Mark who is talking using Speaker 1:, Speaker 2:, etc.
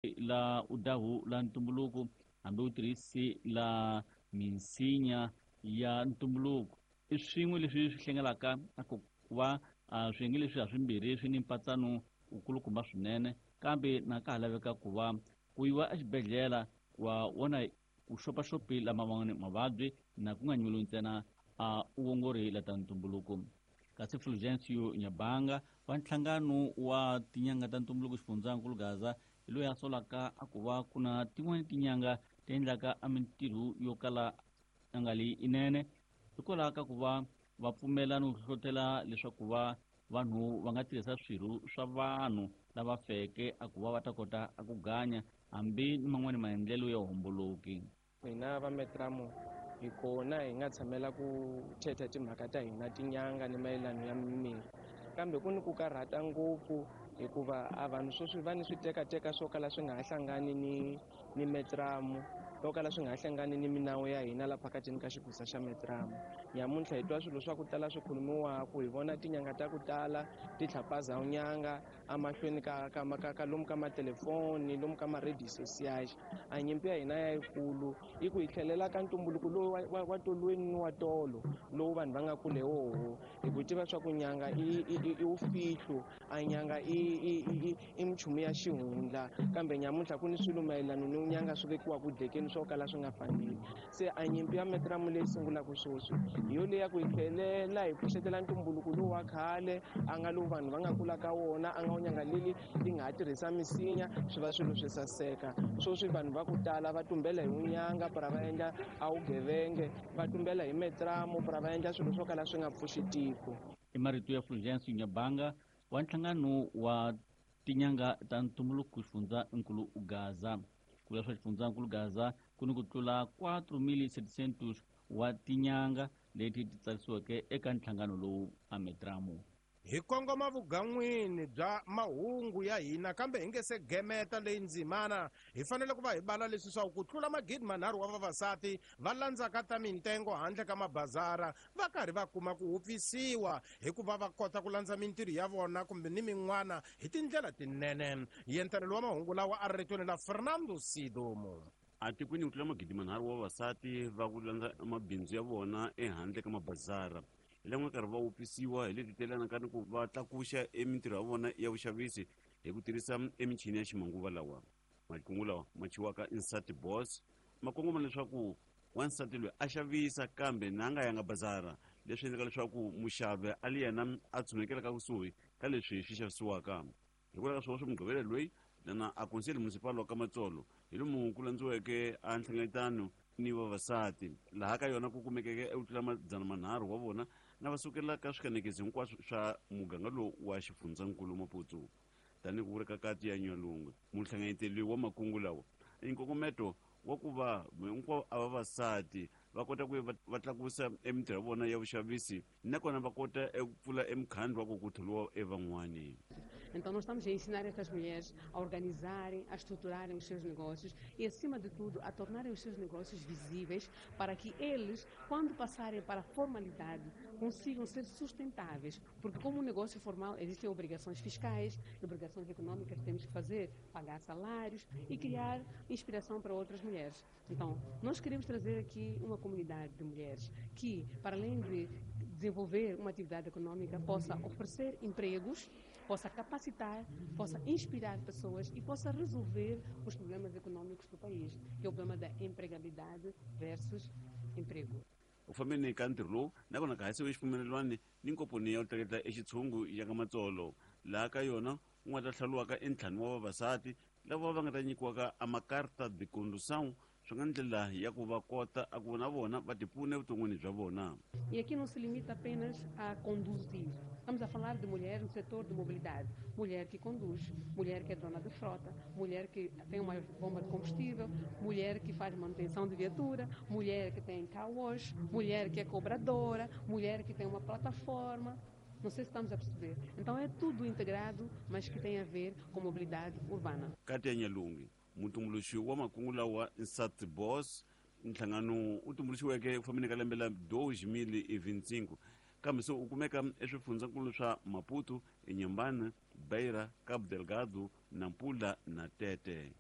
Speaker 1: La udahu la ntumbuluko hambi u tirhisi la minsinya ya ntumbuluko i swin'we leswi swi hlengelaka ku va swiyenge leswi haswimbirhi swi ni mpatsano wukulukumba swinene, kambe na ka ha laveka ku va ku yiwa exibedhlele wa vona ku xopaxopi lama man'wani mavabyi na ku nga nyuliwi ntsena a uongori la ta ntumbuluko. Kasi Fulgencio Nyabanga wa nhlangano wa tinyanga ta ntumbuluko xifundzankulu Gaza hi loyi a solaka a ku va ku na tin'wani tinyanga ti endlaka a mintirho yo kala a nga li inene hikwalaho ka ku va va pfumela no hlohlotela leswaku va vanhu va nga tirhisa swirho swa vanhu lava feke a ku va va ta kota a ku ganya hambi ni man'wani maendlelo ya homboloki.
Speaker 2: Hina va Metramo hi kona hi nga tshamela ku thetha timhaka ta hina tinyanga ni mayelano ya mimirhi, kambe ku ni ku karhata ngopfu hikuva a vanhu sweswi va ni switekateka swo kala swi nga ha hlangani ni Metramo, swo kala swi nga ha hlangani ni minawu ya hina la phakatini ka xigusa xa Metramo. Nyamuntlha hi twa swilo swa ku tala swi khulumiwaku, hi vona tinyanga ta ku tala ti tlhapaza nyanga emahlweni ka lomu ka matelefoni, lomu ka ma-radio social. A nyimpi ya hina ya yikulu i ku hi tlhelela ka ntumbuluko lowu wa tolweni ni wa tolo lowu vanhu va nga kule woho, hi ku tiva swa ku nyanga i wufihlo, a nyanga i minchumu ya xihundla, kambe nyamuntlha ku ni swilo mayelana ni nyanga swi vekiwaka dlekeni swo kala swi nga faneli. Se a nyimpi ya Metramo leyi sungulaka sweswi hi yo leya ku hi tlhelela hi pfuxetela ntumbuluko lowu wa khale a nga lowu vanhu va nga kula ka wona, a nga wu nyanga leli ti nga ha tirhisa misinya swi va swilo swi saseka. Sweswi vanhu va ku tala va tumbela hi wunyanga para va endla a wugevenge, va tumbela hi Metramo para va endla swilo swo kala swi nga pfuxi tiko.
Speaker 1: I marito ya Fulgencio Nyabanga wa nhlangano wa tinyanga ta ntumbuluko xifundzankulu Gaza. Ku vula swa xifundzankulu Gaza ku ni ku tlula 4700 wa tinyanga leti ti tsarisiweke eka nhlangano lowu a Metramo.
Speaker 3: Hi kongoma vugan'wini bya mahungu ya hina, kambe hi nge se gemeta leyi ndzimana hi fanele ku va hi bala leswi swa ku tlula 3000 wa vavasati va landzaka ta mintengo handle ka mabazara va karhi va kuma ku wupfisiwa hikuva va kota ku landza mintirho ya vona kumbe ni min'wana hi tindlela tinene. Yentelelo wa mahungu lawa a ri ritweni la Fernando Sidomo.
Speaker 4: Atikweni ku tlula 3000 wa vavasati va ku landza mabindzu ya vona ehandle ka mabazara hi lan'we karhi va wupfisiwa hi leti telanaka ni ku va tlakuxa emintirho ya vona ya vuxavisi hi ku tirhisa emichini ya ximanguva lawa. Makungu lawa ma chiwaka Insati Boss ma kongoma leswaku wansati loyi a xavisa kambe na nga yanga bazara, leswi endlaka leswaku muxavi a li yena a tshunekelaka kusuhi ka leswi swi xavisiwaka. Hikwalaho ka swona swa Mugqivela loyi lana a Conselho Municipal wa Kamatsolo hi lomu ku landziweke a nhlengeletano ni vavasati, laha ka yona ku kumekeke eku tlula 300 wa vona na va sukela ka swikanekisi hinkwaswo swa muganga lowu wa xifundzankulu Maputo. Tanihi ku vula ka kati ya Nyalungwe, muhlanganyeteli wa makungu lawa i nkongometo wa ku va hinkwavo a vavasati va kota ku va tlakusa emintirho ya vona ya vuxavisi nakona va kota eku pfula emukhandlu wa ku ku tholiwa evan'wani.
Speaker 5: Então nós estamos a ensinar estas mulheres a organizarem, a estruturarem os seus negócios e, acima de tudo, a tornarem os seus negócios visíveis para que eles, quando passarem para a formalidade, consigam ser sustentáveis. Porque como um negócio formal existem obrigações fiscais, obrigações econômicas que temos que fazer, pagar salários e criar inspiração para outras mulheres. Então, nós queremos trazer aqui uma comunidade de mulheres que, para além de desenvolver uma atividade econômica, possa oferecer empregos, possa capacitar, possa inspirar pessoas e possa resolver os problemas econômicos do país, que é o problema da empregabilidade versus emprego.
Speaker 4: U fambeni ka ntirho lowu nakona ka hasiwe xipfumelelwani ni nkomponi ya ku tleketla exitshungu ya ka Matsolo, laha ka yona ku nga ta hlawuriwaka entlhanu wa vavasati lava va nga ta nyikiwaka a makarta de condução, swi nga ndlela ya ku va kota a ku na vona va tipfuna evuton'wini bya vona.
Speaker 5: E aqui não se limita apenas a conduzir. Estamos a falar de mulheres no setor de mobilidade. Mulher que conduz, mulher que é dona de frota, mulher que tem uma bomba de combustível, mulher que faz manutenção de viatura, mulher que tem car wash, mulher que é cobradora, mulher que tem uma plataforma. Não sei se estamos a perceber. Então é tudo integrado, mas que tem a ver com mobilidade urbana.
Speaker 4: Katia Nyalungi, mutumbuluxi wa makungu lawa Insat Boss, nhlangano wu tumbuluxiweke ku fambeni ka lembe la 2025, kambe se wu kumeka eswifundzankulu swa Maputo, Inhambane, Beira, Cabo Delgado, Nampula na Tete.